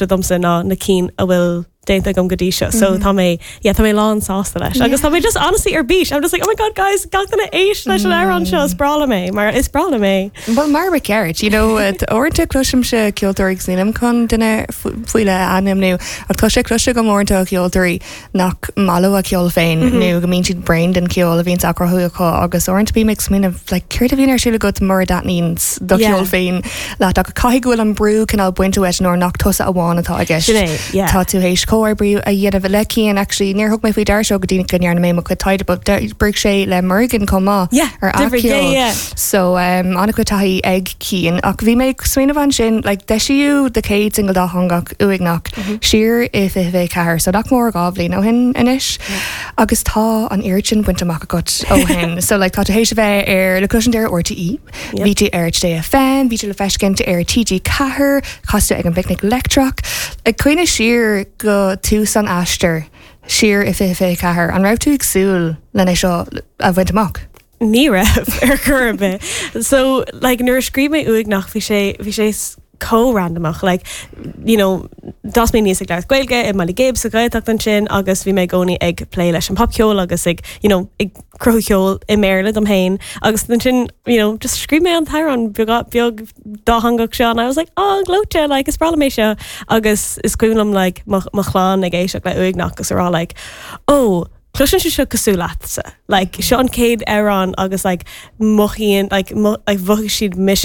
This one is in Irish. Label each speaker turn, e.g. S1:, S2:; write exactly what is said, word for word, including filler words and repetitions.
S1: domsa ná na cinn a bhfuil déanta agam go dtí seo so mm -hmm. tá mé yeah, tá mé lán sásta leis agus tá mé just honestly ar bís I'm just like oh my god guys gach duine éist leis an amhrán seo is breá liom é mar is breá liom é.
S2: Well mar ba cheart you know uaireanta cloisimse ceoltóirí nílim chun duine faoi leith a ainmniú ach tá sé cloiste agam uaireanta ceoltóirí nach maith leo a gceol féin mm -hmm. nó go mbíonn siad bréan den cheol a bhíonn á chruthú acu agus uaireanta bím ag smaoineamh like, céard a bhíonn ar siúl agat mura dtaitníonn do cheol féin leat ach caithfidh go bhfuil an brú cineál bainte uait nuair nach tusa amháin atá i gceist. Tá tú théis comhoibriú a dhéanamh le Cian actually níor thug mé faoi deara seo go dtí go ndearna mé mo chuid taighde but d'oibrigh sé le Morgan chomh maith ar athcheol. So um, an-chuid taithí ag Cian ach bhí mé smaoineamh ansin like, d'eisíodh do chéad single dátheangach Uaigneach mm -hmm. siar i fiche fiche ceathair, so nach mór dhá bhliain ó shin anois agus tá an oiread sin bainte amach agat ó shin. so like, tá tú théis a bheith ar le cloisint ar RTÉ, Bhí tú ar FM, bhí tú le feiscint ar TG Ceathair, chas tú ag an bPicnic Leictreach, ag cuimhneamh siar go tús an aistir siar i fiche fiche ceathair, an raibh tú ag súil lena seo a bhaint amach?
S1: Ní raibh ar chor ar bith. So like, nuair a scríobh mé Uaigneach bhí sé bhí sé chomh randomach like you know d'fhás mé aníos ag labhairt Gaeilge i mBaile Ghib sa Ghaeltacht ansin agus bhí mé i gcónaí ag plé leis an popcheol agus ag you know ag cruthú ceol i mBéarla dom féin agus ansin you know just scríobh mé an t-amhrán beag beag dátheangach seo and I was like oh gleoite like is breá liom é seo agus is cuimhin liom like mo mo chlann ag éisteacht le Uaigneach agus a rá like oh Cloiseann sé seo cosúil leatsa like seo an chéad amhrán agus like mothaíonn like mo, like mhothaigh siad mise